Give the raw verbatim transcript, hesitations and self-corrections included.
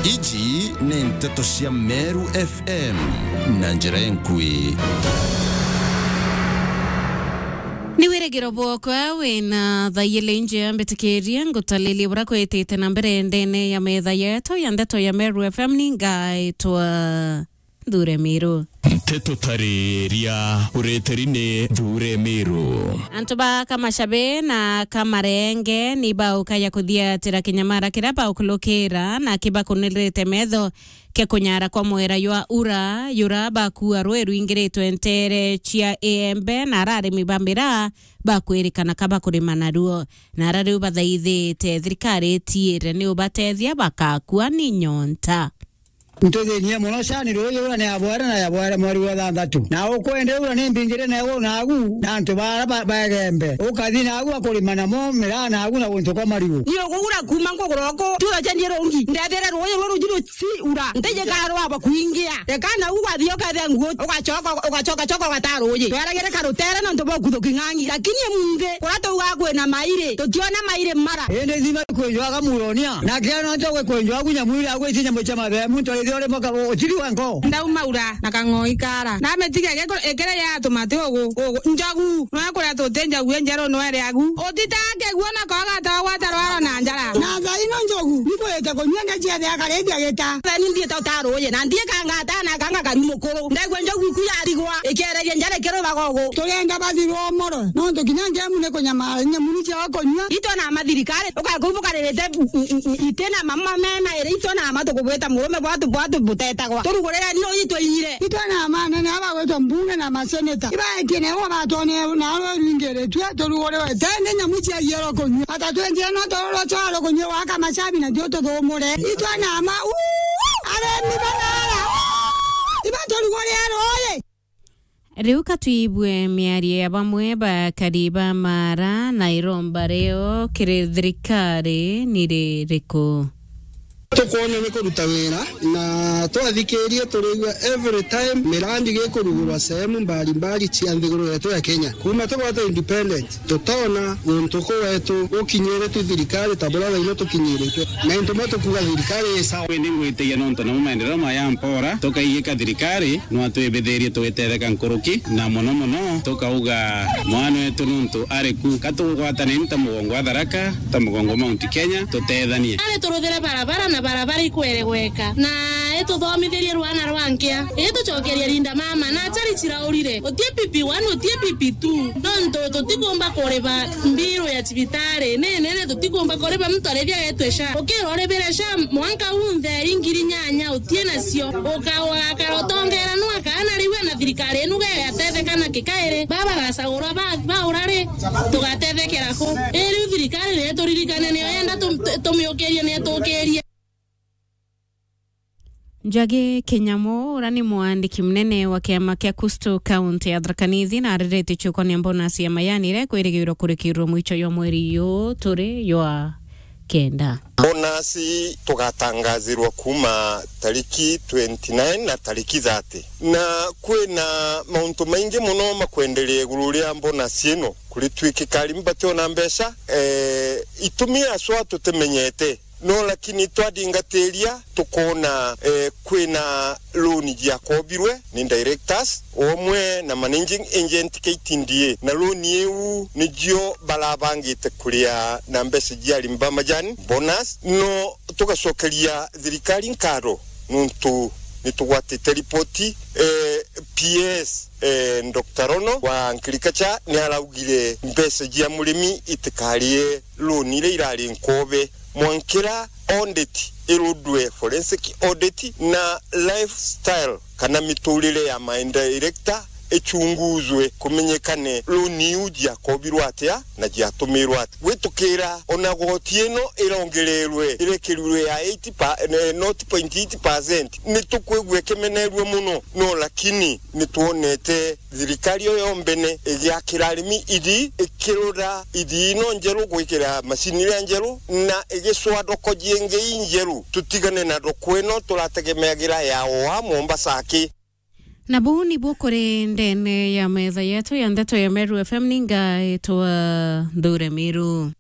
Iji ni nteto cia Meru F M na njira enkui. Ni wirigiro bwokwa wina thaiyele inje mbitikirie ngutalilie bura kwitite na mbere ndene ya metha yetu ya ndeto ya Meru F M. Ni ngaitwa Nthure Miru. Nteto tariria ureteri ni Nthure Miru. Antu ba Kamashabe na Kamarenge ni baukaya kuthiatira kinyamara kiria baukulukira na kibakunirite metho kia kunyara kwa mwera jwa ura, jura bakua rwi rwingiritwe ntere cia Iembe na ara arimi ba miraa bakwirikana ka bakurima naruo. Na ara riu bathaithite thirikari itiire ni ubatethia bakakua ni nyonta. Ntuthinie mono cani ruuji ura ni yabwere na yabwere mweri wa thanthatu. Na ukwende ura ni mbingire na iguru nagu na antu bara ba-, ba Igembe. Ukathi nagu akurima namo miraa nagu na guntu kwa marigu. Ni ugugura kuuma nkugura uku, tiura cendie rungi. Ndethere ruuji ruru ruji ruci ura. Ntiji kara rwaba kuingia. Reka nagu ugathi ukethe nguo, ugacoka, ugacoka, coka ugata ruuji. Tweragire karutere nontu bwa kuthuki ng'ang'i. Lakini emunthi, kuria tuuga kwina mairi, tutiona mairi mara. Indi thima kwenjwaga muronia. Na kiana nto gwe kwenjwaga nyamu iria gwiti nyamu cia mabemu, nto ithio ri moka utiri wa nko. Ndauma ura na kang'oi kara. Na metiga gekuru, ekere ya tumati ugu, ugu. Njogu, no kuria tuti njogu enjeru no ere agu. Utita keguo na koga to gwata rwaro na njara. Na thaino njogu, ni kwete kunyua ngecia ya karibia gita. Thani ndie to taruye, na ndie kangata na kanga kari mukuru. Ndegwa njogu iku yarigwa, ikiereria njara ikirwa bagogo. Turienda bathirwo moro, nontu kinya ngemu ni kunyamara, nyamu ni cia kunyua. Itwe na mathirikari, ukakubukaririte ite na mama mema iri, itwe na ma tukubwita murume bwatu, bwatu butetagwa. Turugurire ni uyi twinyire. Itwe na ma nene aba gwitwa mbunge na maseneta. Ibaetie na iwa batone na aro ringiritwe, turugurire tende nyamu cia yero kunyua. Ata twenjire no tororo choro kunyua wa Kamashabi na tio tuthumure. Itwe na ma, uu, aremi banara, uu, iba turugurire ruuyi. Riu ka twibue miario ya bamwe bakari ba Mara na iromba rio kiri thirikari ni ririku? Tukwona ni kuruta wira na twathikirie turigua every time mirandi gikurugurwa sehemu mbalimbali cia nthiguru yetu ya Kenya. Kuma tugwate independent, tutona guntu ku wetu gukinyire tu thirikari ta buria thaino tukinyiritwe. Na into mwe tukuga thirikari i sawa. Indi ngwitikia nontu namo maendeleo maya mpora, tukaigika thirikari no atwibithirie tugitetheka nkuruki, na mono mono tukauga mwana wetu nontu ari ku, ka tugwatane ni ta mugongo wa Tharaka, ta mugongo wa Mount Kenya, tutethanie. Ari turuthire barabara na barabara ikweregweka, na ituthomithirie rwana rwa nkia, itucokerie Linda mama na achari ciraurire. Utie P P one, utie P P two, nontu tutikumba kuriba mbiru ya cibitari ni nene, tutikumba kuriba muntu arithia getwe SHA. Ukirwa uribire SHA mwanka unthe ingiri nyanya utie nacio, uka-, ugakara utongera nu akana riu na thirikari inu gegatetheka na kikairi. Baba gacagurwa ba, baura ri, tugatethekera ku? Ii riu thirikari ni ituririkane, niyo yenda tu-, tu-, tumiukirie, ni itukirie. Njagi Kinyamu, uria ni mwandiki munene wa kiama kia Kustu kaunti ya Tharaka Nithi, na ariretie ciukonia bonus ya mayani iria ikwirigirwa kurikirwa mwicho jwa mweri uyu turi jwa kenda. Bonus tugatangazirwa kuma tariki twenty nine na tariki thirty. Na kwina mauntu maingi mono makwenderea iguru ria bonus ino. Kuritwikika arimi bationa mbeca, eh, itumi aswa tutimenyete. No lakini twadingatiria tukoona, eh, kwina loan jiakobirwe ni directors, omwe na managing agent K T D A, na loan iu nijio barabangite kuria na mbeca jia arimi ba majani, bonus. No tugacokeria thirikari nkatho nuntu nitugwatite ripoti, eh, P S, eh, Doctor Rono wa Agriculture niaraugire mbeca jia murimi itikarie loan iria irari nkobe. Mwankira audit irudwe, forensic audit, na lifestyle kana miturire ya my director ichunguzwe, kumenyekane loan iu jiakobirwe atia na jiatumirwe atia. Gwitukira ona goti ino irongererwe, irekerirwe ya eight pa, eh, nought point eight percent, nitukwigua ikimenerua muno, no lakini nitwonete thirikari iyo yombene igiakira arimi ithii, ikirura ithii ino njeru gwikira macini iria njeru, na igicwa thoko jingi injeru. Tutigane na thoko ino turategemeagira ya oa Mombasa aki. Na buu nibuo kuri ndene ya metha yetu ya ndeto ya Meru F M, ni ngaitwa Nthure Miru.